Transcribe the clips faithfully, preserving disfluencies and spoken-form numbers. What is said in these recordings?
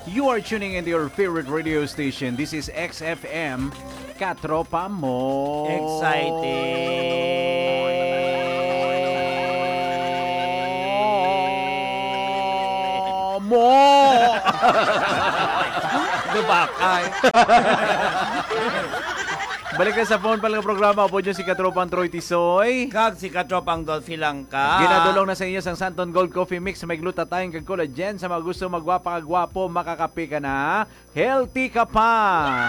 You are tuning into your favorite radio station. This is X F M, Katropa Mo. Exciting. Mo! Dubakay. Balik na sa phone pa lang programa. Upod nyo si Katropang Troy Tisoy. Kag si Katropang Dolphy Langka. Ginadulong na sa inyo sang Santon Gold Coffee Mix. May glutathione kag collagen. Sa mga gusto magwapa kag gwapo, makakape ka na. Healthy ka pa.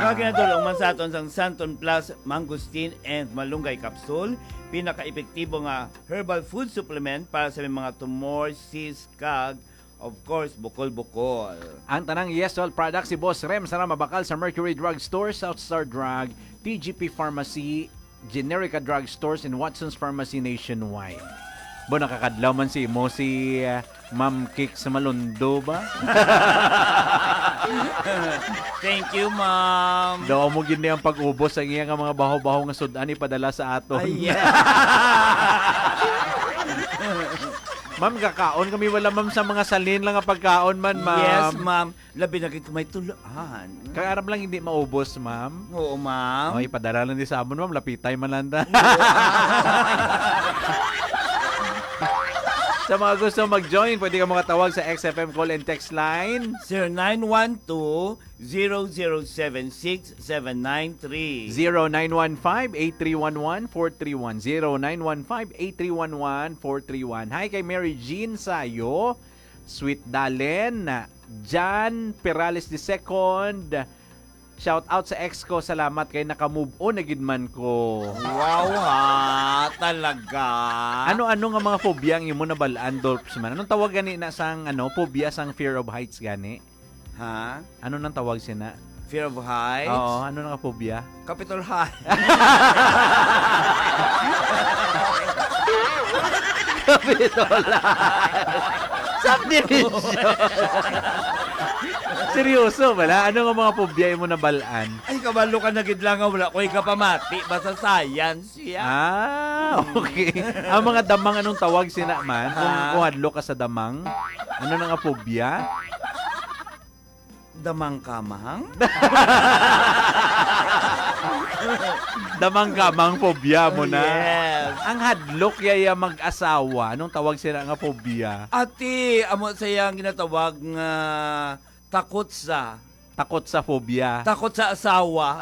Kag ginadulong man sa aton sang Santon Plus Mangosteen and Malunggay Capsule. Pinaka-epektibo nga herbal food supplement para sa may mga tumor, cyst, kag, of course, bukol-bukol. Ang tanang Yes Oil products si Boss Rem Sarama Bakal sa Mercury Drug Store, South Star Drug, T G P Pharmacy, Generica Drug Stores, and Watson's Pharmacy nationwide. Bo, nakakadlaw man si mo si, ah, Ma'am Kicks Malundo ba? Thank you, ma'am. Daw mo gid ni ang pag-ubos ang iya nga mga baho-baho nga sud-an ipadala sa aton. Ay, yeah. Ma'am, kakaon kami wala, ma'am, sa mga salin lang nga pagkaon man, ma'am. Yes, ma'am. Labi na gid kung may tulaan. Kay aram lang hindi maubos, ma'am. Oo, ma'am. Oh, ipadala lang di sa amon, ma'am. Lapitay man lang ta. Sa mga gusto mag-join, pwede ka makatawag sa X F M call and text line. Zero nine one two, zero zero seven six seven nine three. Zero nine one five, eight three one one, four three one. Zero nine one five, eight three one one, four three one. Hi kay Mary Jean Sayo, Sweet Dalen, John Perales the second. Shout out sa ex ko, salamat kay naka-move on na gid man ko. Wow, ha? Talaga? Ano-ano nga mga phobia ang imo nabal-an, Dolphs man? Anong tawag gani na sang, ano, phobia sang fear of heights gani? Ha? Ano nang tawag sina? Fear of heights? Oo, ano nang phobia? Capitol High. Capitol High. Subdivision. Seryoso bala? Ano nga mga phobia imo nabal-an? Ay, kabalo ka na gid lang nga wala ko ikapamati ba sa science, ya? Ah, okay. Ang mga damang, anong tawag sina man? Kung, Ah. kung hadlok ka sa damang, ano na nga phobia? Damang kamang? Damang kamang phobia mo na. Yes. Ang hadlok yaya mag-asawa, anong tawag sila nga phobia? Ati, amo sa iyang ginatawag nga takot sa Takot sa phobia. Takot sa asawa.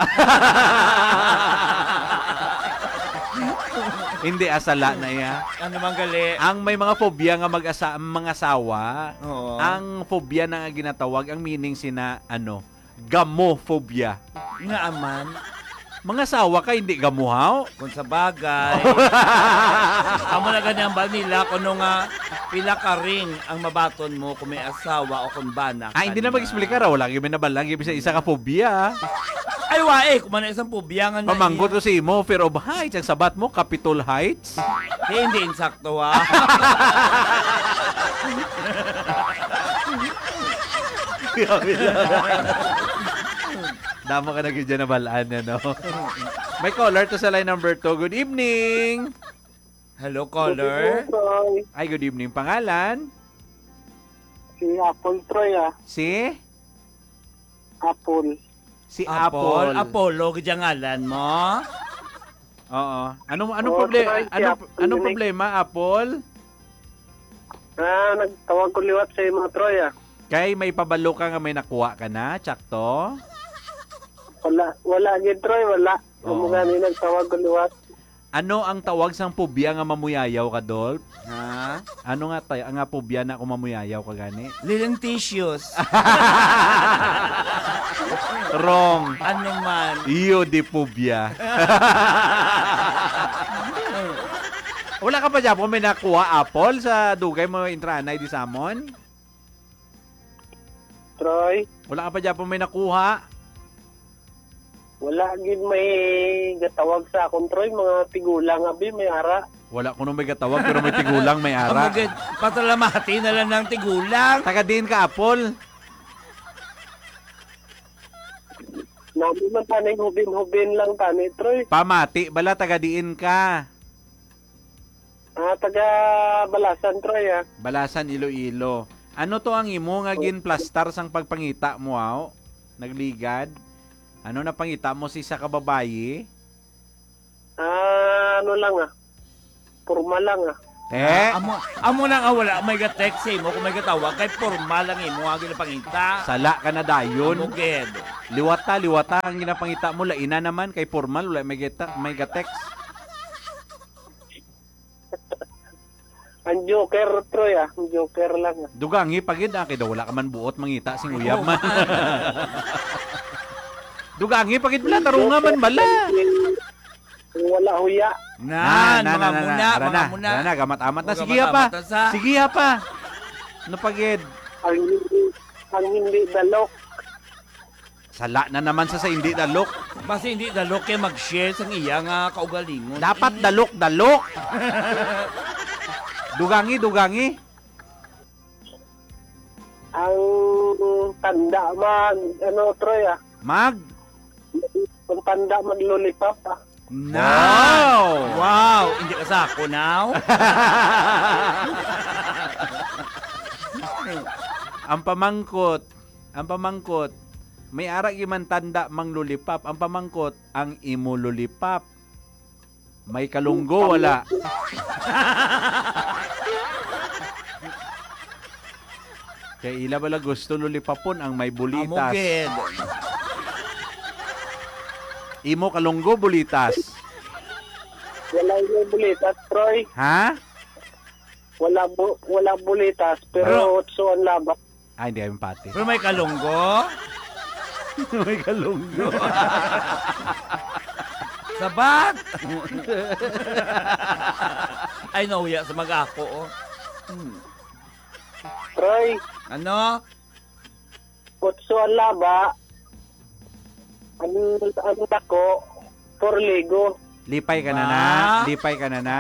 Hindi, asala na iya. Ano man gali? Ang may mga phobia nga mag-asa-, mga asawa, Oo. ang phobia na nga ginatawag, ang meaning sina, ano, gamophobia. Nga aman. Mga asawa ka, hindi gamuhaw? Kung sa bagay. Amo na gani ang bal nila, kuno nga pila ka ring ang mabaton mo kung may asawa o kung bana Ah, hindi na ka mag-explica na. ra. Wala gyud may nabalang gyud sa isa ka phobia. Ay, wa eh. Kung man isang phobia nga na Pamangkot ko sa imo, fear of heights. Ang sabat mo, Capitol Heights. Di, hindi insakto, ha? Grabe na. Damo ka na gyud dyan nabalaan, ano? May caller to sa line number two. Good evening. Hello, caller. Good evening, Troy. Ay, good evening. Pangalan? Si Apple, Troy, ah. Si? Apple. Si Apple. Apple. Apollo, gid ang ngalan mo? Oo. Anong, anong Oo, proble-, Troy, si anong, Apple anong yun eh. problema, Apple? Ah, nagtawag ko liwat sa imo, Troy, ah. Kay may pabalo ka nga may nakuha ka na, tsakto? Wala, wala gid, Troy, wala. Oo. Amo gani nagtawag ko liwat. Ano ang tawag sang phobia nga mamuyayaw ka, Dolph? Ha? Ano nga tay-, nga phobia na kung mamuyayaw ka gani? Lilintitious. Wrong. Ano man? Iyo di phobia. Wala ka pa dyan kung may nakuha apple sa dugay mo intranay di samon? Troy? Wala ka pa dyan may nakuha? Wala gid may gatawag sa akon, Troy. Mga tigulang, abi, may ara. Wala kuno may gatawag, pero may tigulang, may ara. Amo gid, pasalamati na lang ng tigulang. Taga diin ka, Apol? Nami man tani, hubin-hubin lang tani, Troy. Pamati, bala, taga diin ka? Ah, taga Balasan, Troy, ah. Balasan, Iloilo. Ano to ang imo nga ginplastar sang pagpangita mo, aw? Nagligad? Ano na pangita mo si sa kababayi? Ah, ano lang, ah. Porma lang, ah. Eh? Amo, amo na nga wala may ga-text sa imo kung may gatawag kay porma lang imo ang ginapangita. Sala ka na dayon. Amo gid. Liwata, liwata ang ginapangita mo. Laina naman kay pormal, wala may geta-, may ga-text. Ang joker, Troy, ah. Ang joker lang, ah. Dugangi pa gid, ah, kay daw wala ka man buot mangita sing uyab man. Dugangi pa gid bala, tarunga man bala. Kung wala huya. Na, na, na, na, na. Muna, ara na, muna. Ara na, gamat-amat na. O, sige, gamat-amat pa. Na sa. Sige, pa. Ano pa gid? Ang hindi, ang hindi dalok. Sala na naman sa, sa hindi dalok. Basi hindi dalok kay mag-share sang iya nga kaugalingon. Dapat dalok-dalok. Dugangi, dugangi. Ang tanda mag, ano, Troy, ah. Mag? Ang tanda mag lollipop, ah. Na. Wow! Wow! Hindi ka sa ako now? Ang pamangkot, ang pamangkot, may ara gyud man tanda mang lollipop. Ang pamangkot, ang imo lollipop. May kalunggo, wala. Kay ila bala gusto lollipopon ang may bulitas. Amo gid. Imo kalunggo, bulitas. Wala may bulitas, Troy. Ha? Wala bu-, wala bulitas, pero Pero otso ang laba. Ay, hindi, ay, empate. Pero may kalunggo? May kalunggo. Sabat! Ay, nahuya sa mag-ako, oh. Hmm. Troy. Ano? Kutso ang laba. Ang, ang dako, porligo. Lipay ka na na. Ba? Lipay ka na na.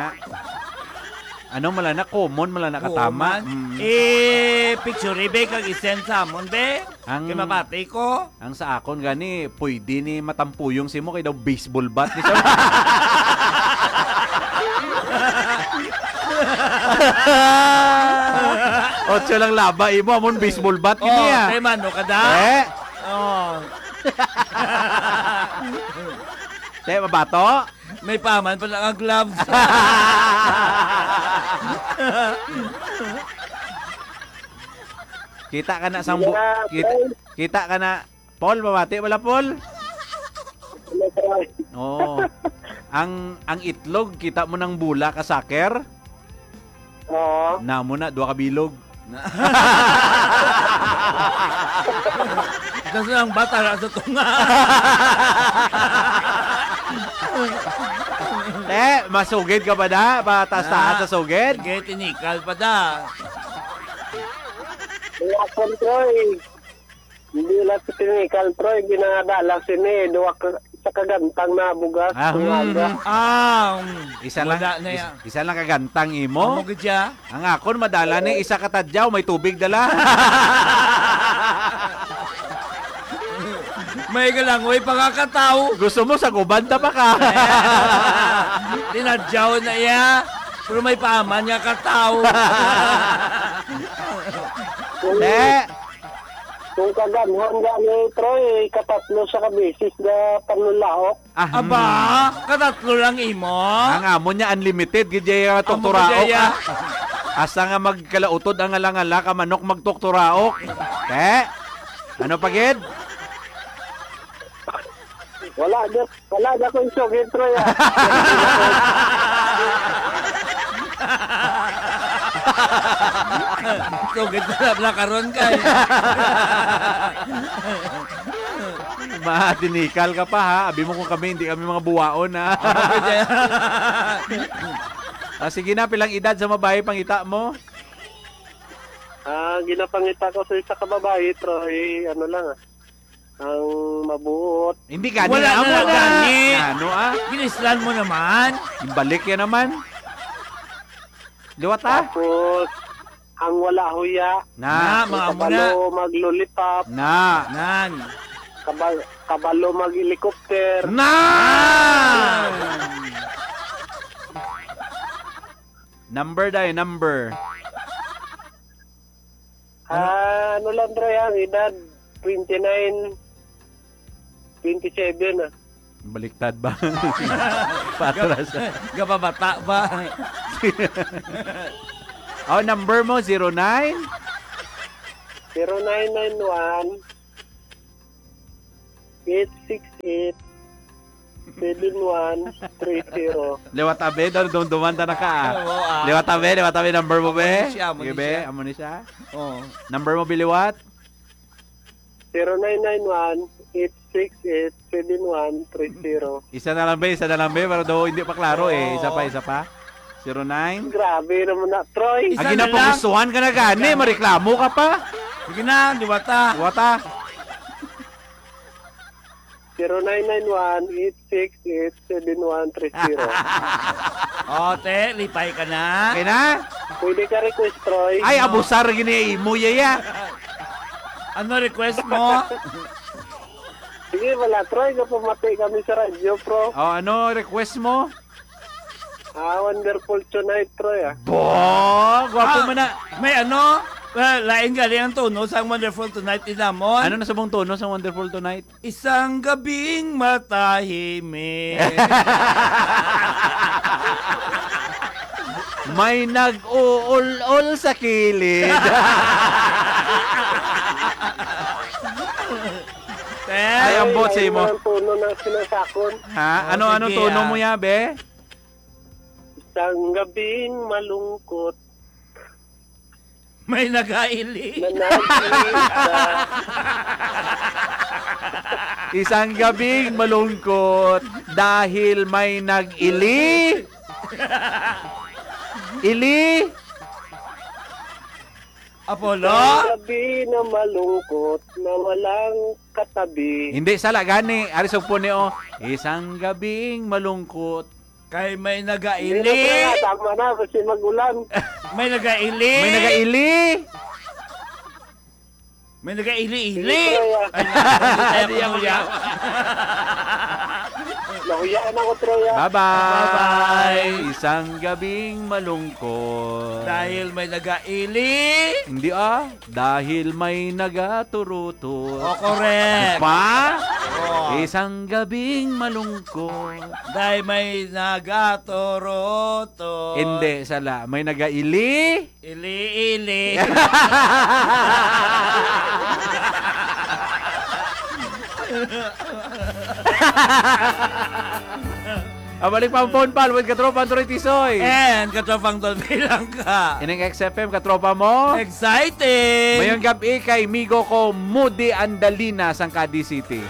Ano, mala na, common, mala na katama. Common? Mm. Eh, picture, be, kag i-send sa amon, be. Ang, Kay mabati ko. Ang sa akon gani, pwede ni matampuyong si mo kay daw baseball bat ni siya. Otso lang laba imo, amon baseball bat Oh, gini, ah. Tay, mano ka da? Eh? Oh. Te, mabato? May paman pala ang gloves. Kita ka na sang bu-, Sige na, kita, Paul. Kita ka na. Paul, mabati wala, Paul? Wala, Paul. Oo. Ang, ang itlog, kita mo nang bula ka saker? Oo. Namo na, duha ka bilog. Na- Tapos ang bata na sa tunga. Eh, masugid ka ba na? Pataas-taas Na. sa sugid? Sige, tinikal pa da. Wala, Paul, Troy. Hindi lang sa tinikal, Troy, ginadala sini, duha ka, sa kagantang na bugas, Ah, tungaga. mm. Ah, mm. Isa lang, Wala na is-, yan. isa lang kagantang imo? Amo gid siya. Ang akon, madala ni isa ka tadyaw, may tubig dala. May galangoy pa nga kataw. Gusto mo, sa guban ta pa ka? Tinadyaw na iya. Pero may paman nga kataw. Kung, Te. kung kaganhan gani, Troy, katatlo sa kabisis na panlulaok. Ah, Aba, hmm. katatlo lang imo? Ang amon niya, unlimited, gid jay, ah, Amo tuktura gid jay, ah. ah. Asa nga magkalautod ang ngala-ngala, ka manok magtukturaok. Te? Ano pa gid? Wala, di, wala na akong sugid, Troy, ah. Sugid na lang karon kay. Matinikal ka pa, ha? Abi mo kung kami, hindi kami mga buwaon, ha? Ano ba dyan? Ah, sige na, pilang edad sa babae, pangita mo? Ah, ginapangita ko sa isa ka babae, Troy, ano lang, ah. Ang mabuot. Hindi gani, Wala amo na lang na. gani. Ano, ah? Ginislan mo naman. Ibalik yan naman. Liwat, ah? Tapos, ang wala huya. Na. Na, Ang mga amo na. kabalo mag-lollipop. Na. Nan. Kabal-, kabalo mag-helicopter. Na! Number, day, number. Ah, ano lang, Troy, ang edad? Twenty-nine, twenty-seven, ah. Baliktad ba? Patras. Gab-, gababata ba? Oh, number mo, zero nine? Zero nine nine one, eight six eight, seven one three zero. Liwat, abe, dum-, dumduman ta na ka, ah. Oo, ah. Liwat, abe, liwat, abe, number mo, be? Amo ni siya, amo ni siya. Sige, be, amo ni siya. Oo. Number mo, biliwat? Zero nine nine one, eight six eight, seven one three zero. Isa na lang, be, isa na lang, be, para daw hindi pa klaro, eh. Oo. Isa pa, isa pa. Zero nine. Grabe naman na, Troy. Isa na lang. Agi na, pagustuhan ka na gani, mareklamo ka pa. Sige na, liwat ta. Liwat ta. Zero nine nine one, eight six eight, seven one three zero. O, te, lipay ka na. Okay na? Pwede ka request, Troy. Ay, abusar gini imo, yaya. Ano request mo? Sige, wala, Troy. Kapamati kami sa radyo, pro. O, ano request mo? Ah, Wonderful Tonight, Troy, ah. Bo! Gwapo man na. Ah, may ano? Well, lain gali ang tono sang Wonderful Tonight ni namon. Ano na subong tono sang Wonderful Tonight? Isang gabing matahimik. May nag-uul-ul sa kilid. Ay, ambot sa imo. Ang tono ng sinasakon. Ha? Oh, ano, ano sige, tono mo ya, be? Isang gabing malungkot. May nagaili. Na nag-iisa. Isang gabing malungkot dahil may nag-ili. Ili. Apollo? Isang gabi na malungkot na walang katabi. Hindi, sala gani. Ari sa po ni, oh. Isang gabing malungkot. Kay may nagaili. Hindi na, tama na, kasi mag-ulan. May nagaili. May nagaili. May nagaili-ili. Hindi, Troy, ah. Ay, hindi, Hindi, ako ako, nahuya. Nahuyaan ako, Troy, ah. Bye-bye. Bye-bye. Isang gabing malungkot. Dahil may nagaili. Hindi, ah. Dahil may nagaturuto. Oh, correct. Pa? Oh. Isang gabing malungkot. Dahil may nagaturuto. Hindi, sala. May nagaili. Ili-ili. Ah, balik pa ang phone, pal, with Katropang Troy Tisoy. And Katropang Don Bilangka. Ining X F M, katropa mo. Exciting! Mayong gabi kay migo ko, Moody Andalina, sang Cadiz City.